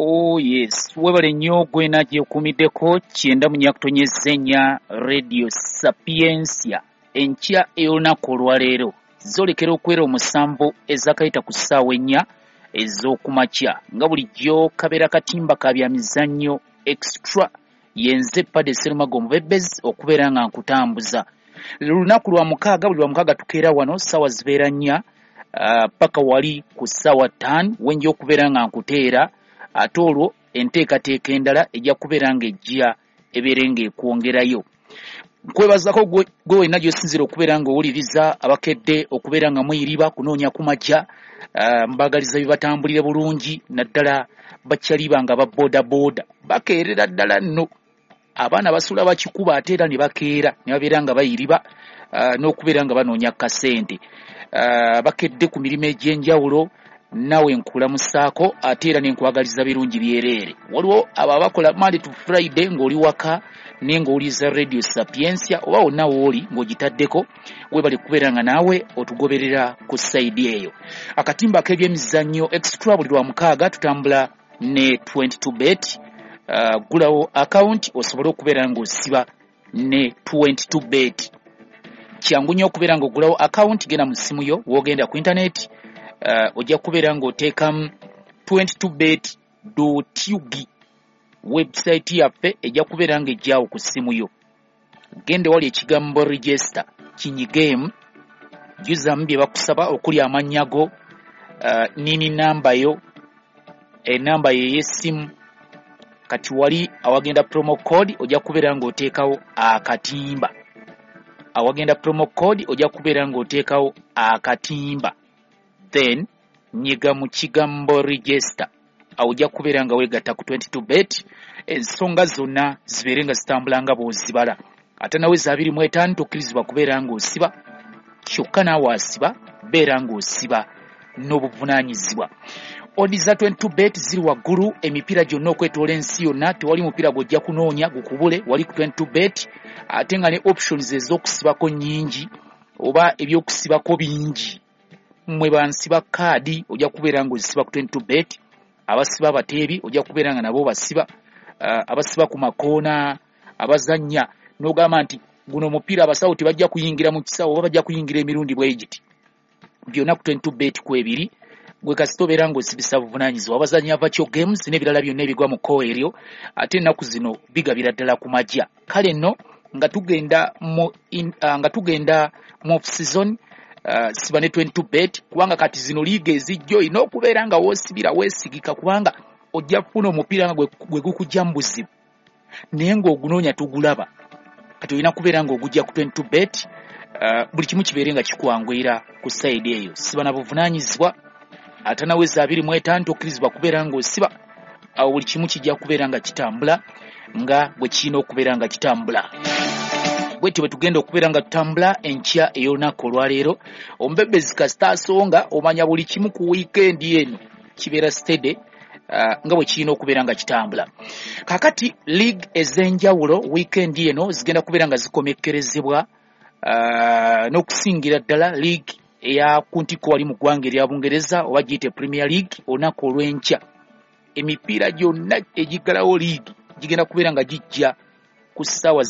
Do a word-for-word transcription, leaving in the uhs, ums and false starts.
Oh yes, webale nnyo gwena gyekuumiddeko kyenda mu nnya kutonyeza ennya Radio Sapientia. Enkya ey'olunaku olwaleero zolekera okwera omusanvu ezakayita ku ssaawa ennya ez'okumakya, nga bulijjo kabeera katimba ka bya mizannyo extra. Yenze Pade Serumago Omubebezi okubeera nga nkutambuza. Lunaku lwa mukaaga, buli lwa mukaaga tukeera wano ssaawa zibeera nnya uh, paka wali ku ssaawa ttaano wenja okubeera nga nkuteera, ate olwo enteekateeka endala ejja kubeera ng'ejja ebeere ng'ekwongerayo. Nkwebazako gwe wenna gy'osinziira okubeera ng'owuliriza, abakedde okubeera nga muyiriba kunoonya ku majja, uh, mbagaliza bibatambulire bulungi, naddala bakyaliba nga ba boodabooda bakeerera ddala nno. Abaana basula bakikuba ate era ne bakeera ne babeera nga bayiriba uh, n'okubeera nga banoonya kasente. Uh, bakedde ku mirimu egy'enjawulo, naawe nkulamusaako ate era ne nkwagaliza birungi byereere. Waliwo abo abakola Monday to Friday ng'oli waka naye ng'owuliriza Radio Sapientia oba wonna w'oli ng'ogitaddeko, weebale kubeera nga naawe otugoberera ku sayidi eyo. Akatimba ak'ebyemizannyo extra buli lwa mukaaga tutambula ne twenty-two bet. Uh, gulawo account osobole okubeera ng'osiba ne twenty-two bet. Kyangu nnyo okubeera ng'ogulawo account, genda mu ssimu yo w'ogenda ku internet, uh, ojja kubeera ng'oteekamu twenty-two bet dot U G. Website yaffe ejja kubeera ng'ejjaawo ku ssimu yo. Genda wali ekigambo register kinyigeemu, jjuzamu bye bakusaba okuli amannya go, uh, nini namba yo, enamba yo ey'essimu. Kati wali awagenda promo code ojja kubeera ng'oteekawo akatimba. Awagenda promo code ojja kubeera ng'oteekawo akatimba, then nyiga mu kigambo register. Awo ojja kubeera nga weegatta ku twenty-two bet, ensonga zonna zibeere nga zitambula nga bw'ozibala. Ate naweza abiri mu etaano tokkirizibwa kubeera ng'osiba, kyokka naawe asiba beera ng'osiba n'obuvunaanyizibwa. Odi za twenty-two bet ziri waggulu, emipiira gyonna okwetoola ensi yonna, tewali mupiira gw'ojja kunoonya gukubule wali ku twenty-two bet, ate nga ne options ez'okusibako nnyingi oba ebyokusibako bingi. Mmwe bansiba kaadi ojja kubeera ng'ozisiba ku twenty-two bet, abasiba abateebi ojja kubeera nga nabo basiba, uh, abasiba ku makoona, abazannya n'ogamba nti guno omupiira abasawo tebajja kuyingira mu kisawo oba bajja kuyingira emirundi bwe giti. Byonna ku twenty-two bet kwebiri. Gwe kasita obeera ng'osibisa buvunaanyizibwa. Abazannya virtual games n'ebirala byonna ebigwa mu kkowe eryo, ate ennaku zino bigabira ddala ku majja. Kale nno nga tugenda mu in, uh, nga tugenda mu off season, uh, siba ne twenty-two bet, kubanga kati zino liiga ezijja olina okubeera nga woosibira weesigika, kubanga ojja kufuna omupiira nga gwe gukujja mu buzibu naye ng'ogunoonya tugulaba. Kati olina kubeera ng'ogujja ku twenty-two bet, uh, buli kimu kibeere nga kikwanguyira ku sayidi eyo. Siba na buvunaanyizibwa, ate naweza abiri mu etaano tokkirizibwa kubeera ng'osiba. Awo buli kimu kijja kubeera nga kitambula nga bwe kirina okubeera nga kitambula. Bwetyo bwe tugenda okubeera nga tutambula enkya ey'olunaku olwaleero. Omubebezi kasita asonga omanya buli kimu ku wiikendi eno kibeera steady, uh, nga bwe kirina okubeera nga kitambula. Kaakati league ez'enjawulo wiikendi eno zigenda kubeera nga zikomekkerezebwa, uh, n'okusingira ddala league eya ku ntikko wali mu ggwanga erya Bungereza oba giyite Premier League. Olunaku olw'enkya emipiira gyonna egiggalawo league gigenda kubeera nga gijja ku ssaawa